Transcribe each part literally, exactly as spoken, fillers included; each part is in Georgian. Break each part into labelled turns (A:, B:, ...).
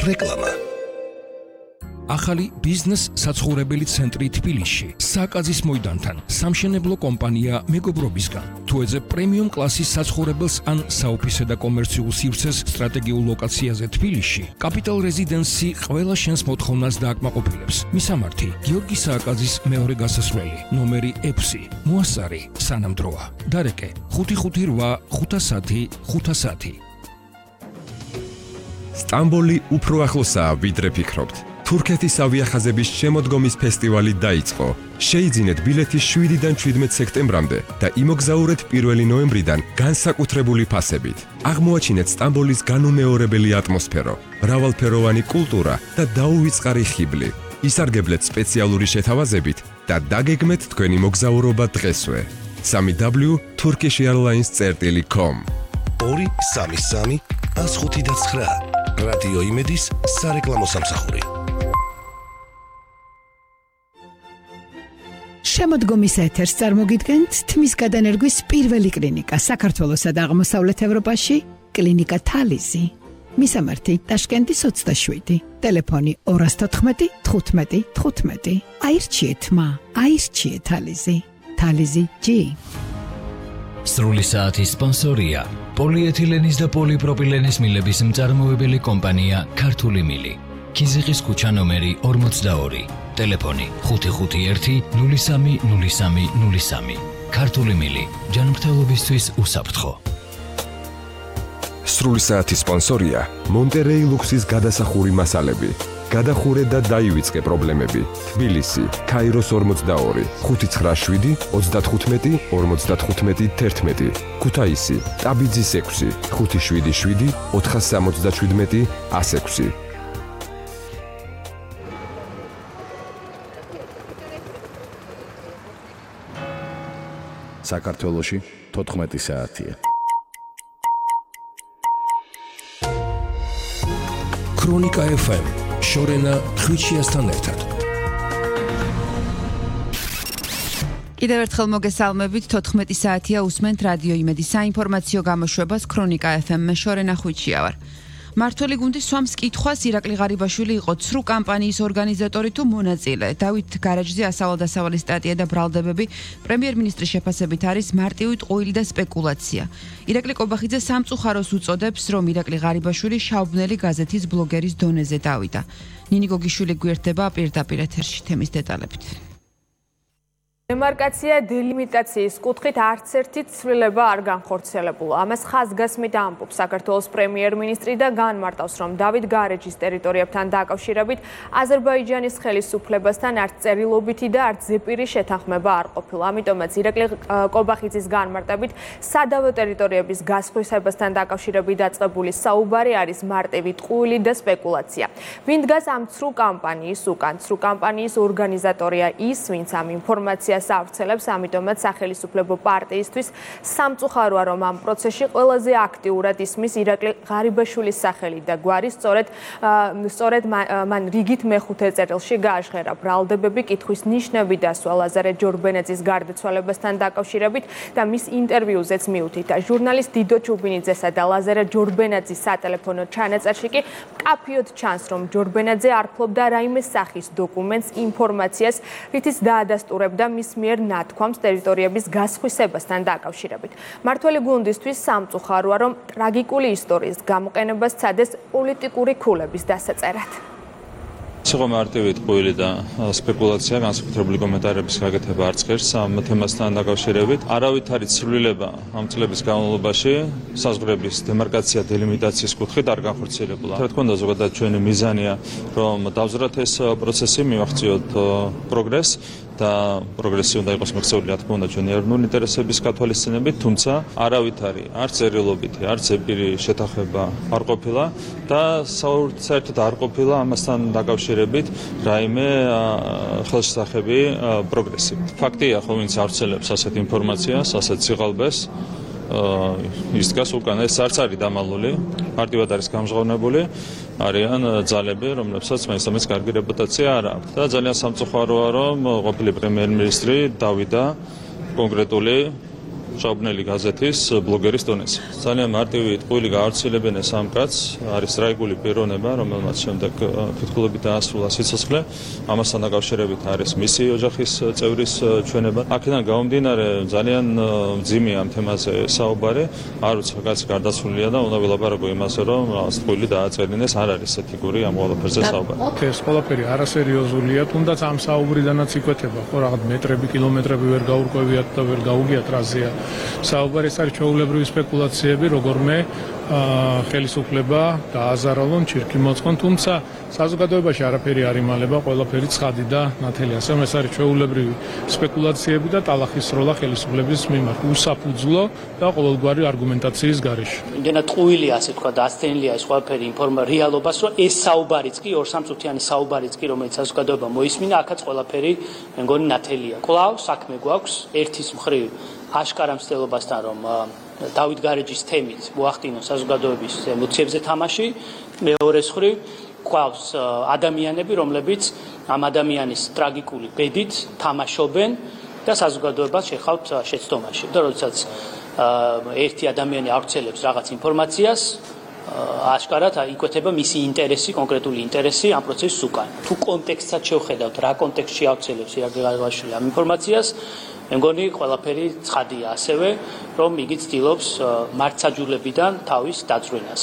A: რეკლამა. ახალი ბიზნეს საცხოვრებელი ცენტრი თბილისში, სააკაძის მოედანთან, სამშენებლო კომპანია მეგობრობისგან. თუ ეძებ პრემიუმ კლასის საცხოვრებელს ან საოფისე და კომერციულ სივრცეს სტრატეგიულ ლოკაციაზე თბილისში, კაპიტალ რეზიდენსი ყველა შენს მოთხოვნას დააკმაყოფილებს. მისამართი: გიორგი სააკაძის მეორე გასასვლელი, ნომერი ექვსი, მოასწარი, სანამდროა. დარეკე: ხუთი ხუთი რვა ხუთი სამი ხუთი სამი.
B: სტამბოლი უფრო ახლოსაა, ვიდრე ფიქრობთ. თურქეთის ავიახაზების შემოდგომის ფესტივალი დაიწყო. შეიძინეთ ბილეთი შვიდიდან შვიდმეტ სექტემბრამდე და იმოგზაურეთ პირველი ნოემბრიდან განსაკუთრებული ფასებით. აღმოაჩინეთ სტამბოლის განუმეორებელი ატმოსფერო, მრავალფეროვანი კულტურა და დაუვიწყარი ხიბლი. ისარგებლეთ სპეციალური შეთავაზებით და დაგეგმეთ თქვენი მოგზაურობა დღესვე. სამი დაბლიუ turkish airlines წერტილი com
A: ორი სამი სამი ას ხუთი და ცხრა რადიო იმედის სარეკლამო სამსახური.
C: შემოდგომის ეთერს წარმოგიდგენთ თმის გადანერგვის პირველი კლინიკა საქართველოსა და აღმოსავლეთ ევროპაში, კლინიკა თალიზი. მისამართი: ტაშკენტის ოცდაშვიდი, ტელეფონი ორას თოთხმეტი თხუთმეტი თხუთმეტი. აირჩიეთ მა, აირჩიეთ თალიზი. თალიზი ჯი.
D: სრული საათის სპონსორია პოლიეთილენის და პოლიპროპილენის მილების მწარმოებელი კომპანია ქართული მილი. ქიზიყის ქუჩა ნომერი ორმოცდაორი, ტელეფონი ხუთი ხუთი ერთი ნული სამი ნული სამი ნული სამი. ქართული მილი, ჯანმრთელობისთვის უსაფრთხო.
B: სრული საათის სპონსორია მონტერეი ლუქსის გადასახური მასალები. გადახურე და დაივიწყე პრობლემები. თბილისი, ქაიროს ორმოცდაორი, ხუთი ცხრა შვიდი ოცდათხუთმეტი ორმოცდათხუთმეტი თერთმეტი. ქუთაისი, ტაბიძის ექვსი, ხუთი შვიდი შვიდი ოთხასამოცდაშვიდმეტი ას ექვსი.
E: საქართველოში თოთხმეტი საათია.
A: ქრონიკა ეფ ემ, შორენა ხვიჩიასთან ერთად.
F: კიდევ ერთხელ მოგესალმებით, თოთხმეტი საათია, უსმენთ რადიო იმედის საინფორმაციო გამოშვებას ქრონიკა ეფ ემ, მე შორენა ხვიჩია ვარ. მართველი გუნდი სვამს კითხვას, ირაკლი ღარიბაშვილი იყო ცრუ კამპანიის ორგანიზატორი თუ მონაწილე. დავით გარაჯზე ასავალ-დასავალი სტატია და ბრალდებები პრემიერ-მინისტრის შეფასებით არის მარტივი ტყუილი და სპეკულაცია. ირაკლი კობახიძე სამწუხაროს უწოდებს, რომ ირაკლი ღარიბაშვილი შავბნელი გაზეთის ბლოგერის დონეზე დავიდა. ნინი გოგიშვილი გვერდება პირდაპირ ეთერში თემის დეტალებით.
G: დემარკაცია დელიმიტაციის კუთხით არც ერთი ცვლილება არ განხორციელებულა. ამას ხაზგასმით ამბობს საქართველოს პრემიერ-მინისტრი და განმარტავს, რომ დავით გარეჯის ტერიტორიებთან დაკავშირებით აზერბაიჯანის ხელისუფლებასთან არც წერილობითი და არც ზეპირი შეთანხმება არ ყოფილა. ამიტომაც ირაკლი კობახიძის განმარტებით სადავო ტერიტორიების გასხვისებასთან დაკავშირებით დაწყებული საუბარი არის მარტივი ტყუილი და სპეკულაცია. ვინ დგას ამ ცრუ კამპანიის უკან? ცრუ კამპანიის ორგანიზატორია ის, ვინც ამ ინფორმაციას ავრცელებს, ამიტომაც სახელისუფლებო პარტიისთვის სამწუხაროა, რომ ამ პროცესში ყველაზე აქტიურად ისმის ირაკლი ღარიბაშვილის სახელი და გვარი, სწორედ სწორედ მან რიგით მეხუთე წერილში გააჟღერა ბრალდებები, კითხვის ნიშნები დასვა ლაზარე ჯორბენაძის გარდაცვალებასთან დაკავშირებით და მის ინტერვიუზეც მიუთითა. ჟურნალისტ დიდო ჩუბინიძესა და ლაზარე ჯორბენაძის სატელეფონო ჩანაწერში კი მკაფიოდ ჩანს, რომ ჯორბენაძე არ ფლობდა რაიმე სახის დოკუმენტს, ინფორმაციას, რითიც დაადასტურებდა მის მიერ ნათქვამს ტერიტორიების გასხვისებასთან დაკავშირებით. მართველი გუნდისთვის სამწუხაროა, რომ ტრაგიკული ისტორიის გამოყენება სცადეს პოლიტიკური ქულების დასაწერად.
H: სიღო მარტივი ტყუილი და სპეკულაცია, განსაკუთრებული კომენტარების გაკეთება არც ღირს ამ თემასთან დაკავშირებით. არავითარი ცვლილება ამ წლების განმავლობაში საზღვრების დემარკაცია დელიმიტაციის კუთხით არ განხორციელებულა. რა თქმა უნდა, ზოგადად ჩვენი მიზანია, რომ დავზრათ ეს პროცესი, მივახციოთ პროგრესს და პროგრესი უნდა იყოს მიღწეული, რა თქმა უნდა, ჩვენი ეროვნული ინტერესების გათვალისწინებით, თუმცა არავითარი არც წერილობითი, არც ზეპირი შეთანხმება არ ყოფილა და საერთოდ არ ყოფილა ამასთან დაკავშირებით რაიმე ხელშესახები პროგრესი. ფაქტია, ხო, ვინც ავრცელებს ასეთ ინფორმაციას, ასეთ სიღალბეს, ის დგას უკან, ეს არც არის დამალული, მარტივად არის გამჟღავნებული, არიან ძალები, რომლებსაც მაინც-ამის კარგი რეპუტაცია არ აქვს. და ძალიან სამწუხაროა, რომ ყოფილი პრემიერ-მინისტრი დავიდა კონკრეტული ჭაობნელი გაზეთის ბლოგერის დონეზე. ძალიან მარტივი ტყუილი გაავრცელებენ ეს ამ კაცს, არის ტრაგიკული პიროვნება, რომელმაც შემდეგ ფეთქულებით დაასრულა სიცოცხლე. ამასთან დაკავშირებით არის მისი ოჯახის წევრის ჩვენება. აქედან გამომდინარე ძალიან მძიმე ამ თემაზე საუბარი, არ ვიცი, კაცი გარდაცვლილია და უნდა ვილაპარაკო იმაზე, რომ რაღაც ტყუილი დააწერინეს, არ არის ეთიკური ამ ყველაფერზე საუბარი.
I: ეს ყველაფერი არასერიოზულია, თუნდაც ამ საუბრიდანაც იკვეთება, ხო, რაღაც მეტრები, კილომეტრები ვერ გაურკვევიათ და ვერ გაუგიათ რაზეა. საუბარი ეს არის ჩვეულებრივი სპეკულაციები, როგორმე ხელისუფლება დააზარალონ, ჩირქი მოწყონ, თუმცა საზოგადოებაში არაფერი არ იმალება, ყველაფერი ცხადი და ნათელი. ასე რომ ეს არის ჩვეულებრივი სპეკულაციები და ტალახის სროლა ხელისუფლების მიმართ, უსაფუძვლო და ყოველგვარი არგუმენტაციის გარეშე.
J: იმდენად ტყუილი, ასე თქვა, დასცენილია ეს ყველაფერი ინფორმა რეალობას, რომ ეს საუბარიც კი ორ სამწუთიანი საუბარიც კი, რომელიც საზოგადოება მოისმინა, აქაც ყველაფერი მე მგონი ნათელია. კვლავ საქმე გვაქვს ერთის მხრივ აშკარა მცდელობასთან, რომ დავით გარეჯის თემით მოახდინონ საზოგადოების ემოციებზე თამაში, მეორეს მხრივ გვაქვს ადამიანები, რომლებიც ამ ადამიანის ტრაგიკული ბედით თამაშობენ და საზოგადოებას შეხავთ შეცდომაში. და როდესაც ერთი ადამიანი ავრცელებს რაღაც ინფორმაციას, აშკარად იკვეთება მისი ინტერესი, კონკრეტული ინტერესი ამ პროცესის უკან. თუ კონტექსტსაც შევხედავთ, რა კონტექსტში ავრცელებს ირაკლი ღარიბაშვილი ამ ინფორმაციას, მე მგონი ყველაფერი ცხადია ასევე, რომ იგი ცდილობს მართსაჯულებიდან თავის დაწვრილებას.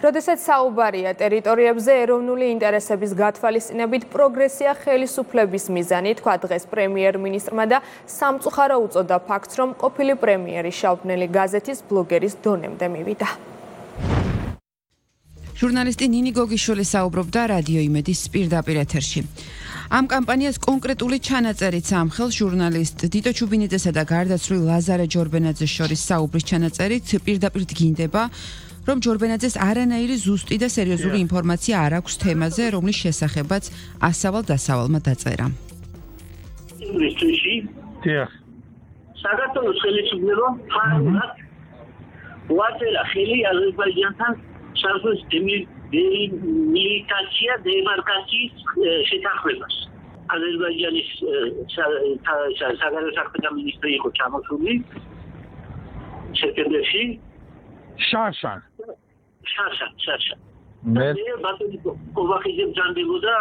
G: როდესაც საუბარია ტერიტორიებზე ეროვნული ინტერესების გათვალისწინებით პროგრესია ხელისუფლების მიზანი, თქვა დღეს პრემიერ-მინისტრმა და სამწუხარო უწოდა ფაქტს, რომ ყოფილი პრემიერი შავბნელი გაზეთის ბლოგერის დონემდე მივიდა.
F: ჟურნალისტი ნინი გოგიშვილი საუბრობდა რადიო იმედის პირდაპირ ეთერში. ამ კამპანიას კონკრეტული ჩანაწერიც ამხელს ჟურნალისტ დიტო ჩუბინიძესა და გარდაცვლილ ლაზარე ჯორბენაძეს შორის საუბრის ჩანაწერით პირდაპირ დგინდება, რომ ჯორბენაძეს არანაირი ზუსტი და სერიოზული ინფორმაცია არ აქვს თემაზე, რომლის შესახებაც ასავალ-დასავალმა დაწერა.
K: საქართველოს ხელისუფლებამ ფარულად უაწერა ხელი აზერბაიჯანთან საზღვრის დილიმიტაცია დემარკაციის შეთანხმებას. აზერბაიჯანის საგარეო საქმეთა მინისტრი იყო ჩამოსული სექტემბერში.
I: შაშან.
K: შაშან, შაშან. მე ბატონი კოვახიძე ბრძანდებოდა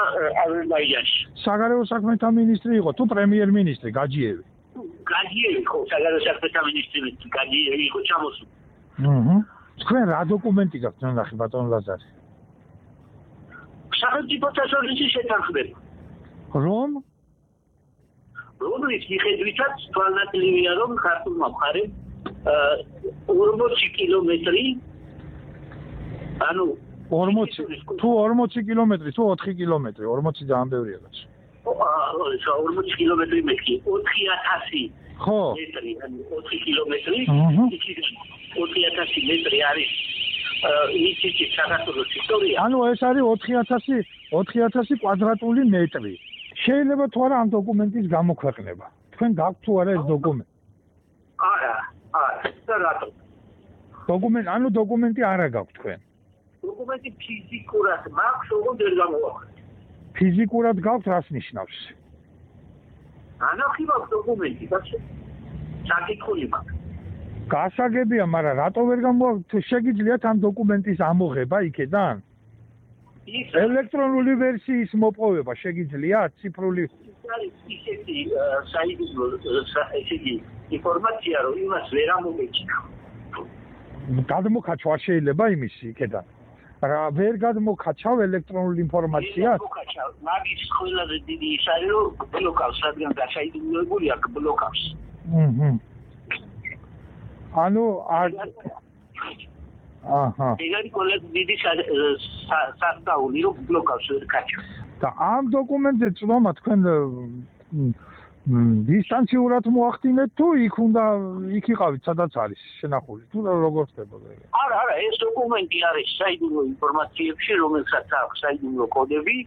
K: აზერბაიჯანში.
I: საგარეო საქმეთა მინისტრი იყო თუ პრემიერ-მინისტრი გაჯიევი?
K: გაჯიევი იყო საგარეო საქმეთა მინისტრი, გაჯიევი იყო ჩამოსული.
I: აჰა. თქვენ რა დოკუმენტი გაქვთ ნახე ბატონ ლაზარე?
K: სახელმწიფო საზღვრის შეთანხმება.
I: რომ?
K: რომლის მიხედვითაც თვალნათლივია, რომ ქართულმა მხარემ ორმოცი კილომეტრი ანუ
I: ორმოცი თუ ორმოცი კილომეტრი თუ ოთხი კილომეტრი ორმოცი ძალიან ბევრია გაჩ.
K: აა ორმოცი კილომეტრი მეტი ოთხი ათასი
I: ხო
K: მეტრი ანუ ოთხი კილომეტრი ოთხი ათასი მეტრი არის ისეთი საქართველოს ისტორია.
I: ანუ ეს არის ოთხი ათასი ოთხი ათასი კვადრატული მეტრი. შეიძლება თუ არა ამ დოკუმენტის გამოქვეყნება. თქვენ გაქვთ თუ არა ეს დოკუმენტი?
K: არა არა რატო?
I: დოკუმენტი ანუ დოკუმენტი არა გაქვთ თქვენ?
K: დოკუმენტი ფიზიკურად მაქვს, ოღონდ ვერ გამოვაყენე.
I: ფიზიკურად გაქვთ რას ნიშნავს?
K: ანახი მაქვს დოკუმენტი, ბაცი. საკითხული მაქვს.
I: გასაგებია, მაგრამ რატო ვერ გამოვაყენეთ? შეგიძლიათ ამ დოკუმენტის ამოღება იქედან? ელექტრონული ვერსიის მოპოვება შეგიძლიათ ციფრული?
K: ისეთი საიდუმლო ესეთი ინფორმაცია, რომ იმას ვერ ამოგეჭირა.
I: გადმოხაჩვა შეიძლება იმის იქედან. რა ვერ გადმოხაჩავ ელექტრონული ინფორმაცია?
K: გადმოხაჩავ. მაგის ყველაზე დიდი ის არის, რომ ბლოკავს, რადგან გასაიდუმლოებული აქ ბლოკავს.
I: აჰა. ანუ არ აჰა.
K: ეგარი კოლეგ დიდი სასწაული რომ ბლოკავს კაჩა.
I: და ამ დოკუმენტზე წვომა თქვენ დისტანციურად მოახდინეთ თუ იქ უნდა იქ იყავით სადაც არის შენახული თუ როგორ ხდებოდა ეგ?
K: არა, არა, ეს დოკუმენტი არის საიდუმლო ინფორმაციებში, რომელსაც აქვს საიდუმლო კოდები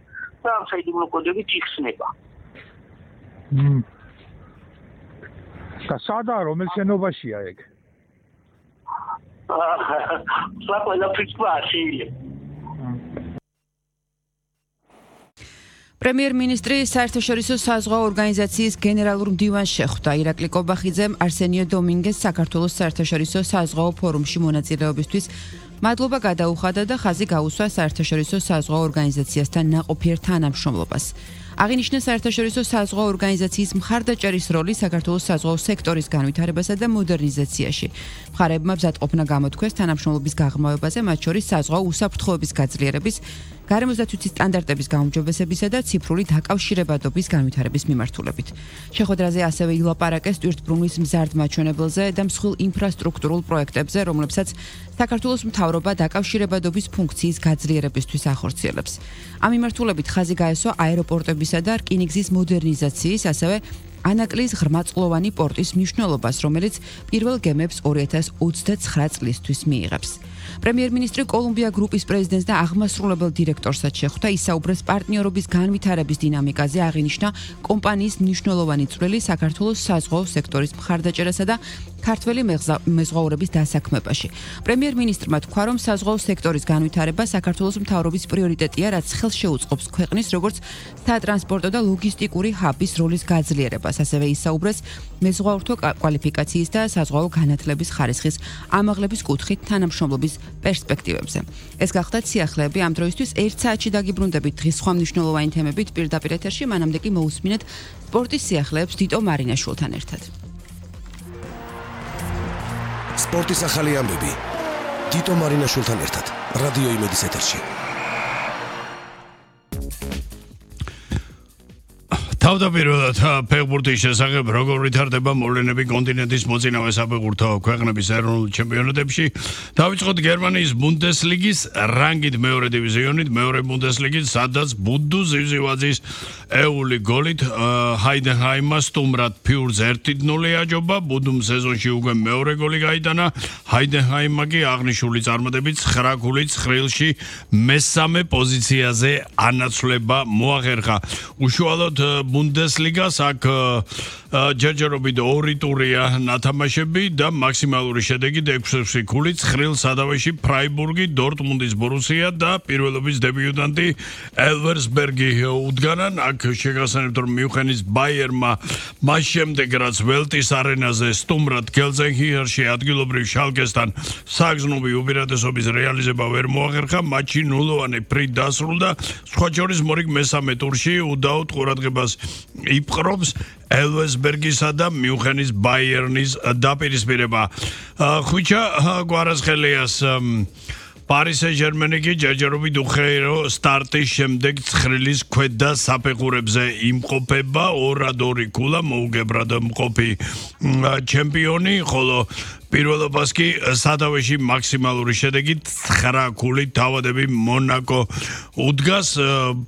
K: და ამ საიდუმლო კოდებით იხსნება.
I: მმ. და სადა რომელ შენობაშია ეგ?
K: აა, ყველა ფიქრა შეიძლება.
F: პრემიერ-მინისტრი საერთაშორისო საზღვაო ორგანიზაციის გენერალურ მდივანს შეხვდა. ირაკლი კობახიძემ არსენიო დომინგეს საქართველოს საერთაშორისო საზღვაო ფორუმში მონაწილეობისთვის მადლობა გადაუხადა და ხაზი გაუსვა საერთაშორისო საზღვაო ორგანიზაციასთან ნაყოფიერ თანამშრომლობას. აღინიშნა საერთაშორისო საზღვაო ორგანიზაციის მხარდაჭერის როლი საქართველოს საზღვაო სექტორის განვითარებასა და მოდერნიზაციაში. მხარეებმა მზადყოფნა გამოთქვეს თანამშრომლობის გაღრმავებაზე, მათ შორის საზღვაო უსაფრთხოების გაძლიერების, გარემოსდაცვითი სტანდარტების გაუმჯობესებისა და ციფრული დაკავშირებადობის განვითარების მიმართულებით. შეხვედრაზე ასევე ილაპარაკეს ტვირთბრუნვის მზარდ მაჩვენებელზე და მსხვილ ინფრასტრუქტურულ პროექტებზე, რომლებსაც საქართველოს მთავრობა დაკავშირებადობის ფუნქციის გაძლიერებისთვის ახორციელებს. ამ მიმართულებით ხაზი გაესვა აეროპორტებისა და რკინიგზის მოდერნიზაციის, ასევე ანაკლის ღრმაწლოვანი პორტის მნიშვნელობას, რომელიც პირველ გემებს ორი ათას ოცდაცხრა წლისთვის მიიღებს. პრემიერ-მინისტრი კოლუმბია გრუპის პრეზიდენტს და აღმასრულებელ დირექტორსაც შეხვდა, ისაუბრეს პარტნიორობის განვითარების დინამიკაზე, აღინიშნა კომპანიის მნიშვნელოვანი წვლილი საქართველოს საზღვაო სექტორის მხარდაჭერასა და ქართველი მეზღვაურების დასაქმებაში. პრემიერ-მინისტრმა თქვა, რომ საზღვაო სექტორის განვითარება საქართველოს მთავრობის პრიორიტეტია, რაც ხელს შეუწყობს ქვეყნის როგორც სატრანსპორტო და ლოგისტიკური ჰაბის როლის გაძლიერებას. ასევე ისაუბრეს მეზღვაურთა კვალიფიკაციის და საზღვაო განათლების ხარისხის ამაღლების კუთხით თანამშრომლობის პერსპექტივებზე. ეს გახდათ სიახლეები ამ დროისთვის. ერთ საათში დაგიბრუნდებით დღის სხვა მნიშვნელოვანი თემებით პირდაპირ ეთერში, მანამდე კი მოусმინეთ სპორტის სიახლეებს დიტო მარინაშვილთან ერთად.
L: სპორტის ახალი ამბები დიტო მარინაშვილთან ერთად რადიო იმედის ეთერში.
M: თავდაპირველად ფეხბურთის შესახებ როგორ ვითარდება მოვლენები კონტინენტის მოწინავე საფეხბურთო ქვეყნების ეროვნულ ჩემპიონატებში. დავიწყოთ გერმანიის ბუნდესლიგის რანგით მეორე დივიზიონით, მეორე ბუნდესლიგით, სადაც ბუდუ ზივზივაძის ეული გოლით ჰაიდენჰაიმმა სტუმრად ფიურს ერთი ნული აჯობა. ბუდუმ სეზონში უკვე მეორე გოლი გაიტანა. ჰაიდენჰაიმმა კი აღნიშნული წარმატებით ცხრა გოლით ცხრილში მესამე პოზიციაზე ანაცვლება მოახერხა. უშუალოდ ბუნდესლიგას აქ ჯერჯერობით ორი ტურია ნათამაშები და მაქსიმალური შედეგი ექვსი გოლით ცხრილ სადავეში ფრაიბურგი, დორტმუნდის ბორუსია და პირველობის დებიუტანტი ელვერსბერგი უდგანან. აქ შეგახსენებთ, რომ მიუნხენის ბაიერმა მას შემდეგ რაც ველტის არენაზე სტუმრად გელზენჰიერში ადგილობრივ შალკესთან საგზნობი უპირატესობის რეალიზება ვერ მოახერხა, მატჩი ნულოვანი ფრით დასრულდა. სხვა შორის მორიგ მესამე ტურში უდაოდ ყურადღებას იპყრობს ელვესბერგისა და მიუნხენის ბაიერნის დაპირისპირება. ხვიჩა გვარასხელიას Paris Saint-Germain კი ჯერჯერობით უხეირო სტარტის შემდეგ ცხრილის ქვედა საფეხურებზე იმყოფება, ორად ორი ქულა მოუგებრად მყოფი ჩემპიონი, ხოლო პირველობას კი სადავეში მაქსიმალური შედეგით ცხრა ქულით თავადები მონაკო უდგას.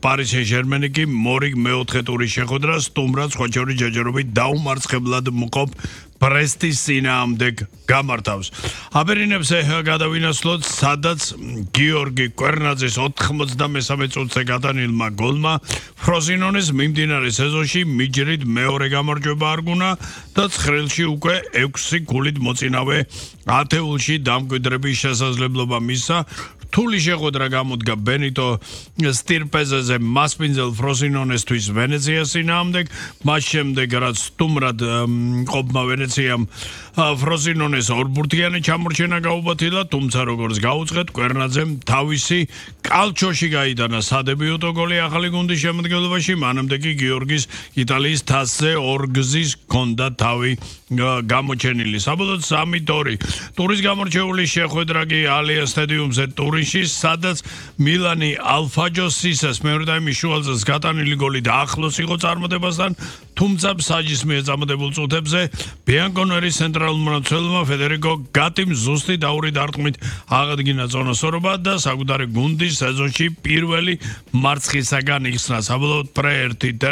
M: Paris Saint-Germain კი მორიგ მეოთხე ტურის შეხვედრა სტუმრად სხვა შორის ჯერჯერობით დაუმარცხებლად მყოფ პრესტის წინააღმდეგ გამართავს. აბერინებს გადავინაცვლოთ, სადაც გიორგი კვერნაძის ოთხმოცდამესამე წუთზე გატანილმა გოლმა ფროზინონის მიმდინარე სეზონში მიჯრით მეორე გამარჯვება არგუნა და ცხრილში უკვე ექვსი გოლით მოწინავე ათეულში დამკვიდრების შესაძლებლობა მისცა. რთული შეხვედრა გამოდგა ბენიტო სტირპეზეზე მასპინძელ ფროზინონესთვის ვენეციას წინააღმდეგ, მას შემდეგ რაც სტუმრად მყოფმა ვენეციამ ფროზინონეს ორბურთიანი ჩამორჩენა გაუბათილა, თუმცა როგორც გაუწყვეტ კვერნაძემ თავისი კალჩოში გაიტანა სადებიუტო გოლი ახალი გუნდის შემადგენლობაში, მანამდე კი გიორგის იტალიის თასზე ორგზის ჰქონდა თავი გამოჩენილი. საბოლოოდ სამი ორი ტურის გამორჩეული შეხვედრა კი ალიანს სტადიუმზე ტურინში, სადაც მილანი ალფაჯოს სისას მეორე ტაიმის შუალწელს გატანილი გოლი და ახლოს იყო წარმატებასთან, თუმცა საჯის მიერ წარმატებულ წუთებზე ბიანკონერის ცენტრალურ მმართველმა ფედერიკო გატიმ ზუსტი დაური დარტყმით აღადგინა წონასწორობა და საკუთარი გუნდის სეზონში პირველი მარცხისაგან იხსნა. საბოლოოდ პრე ერთი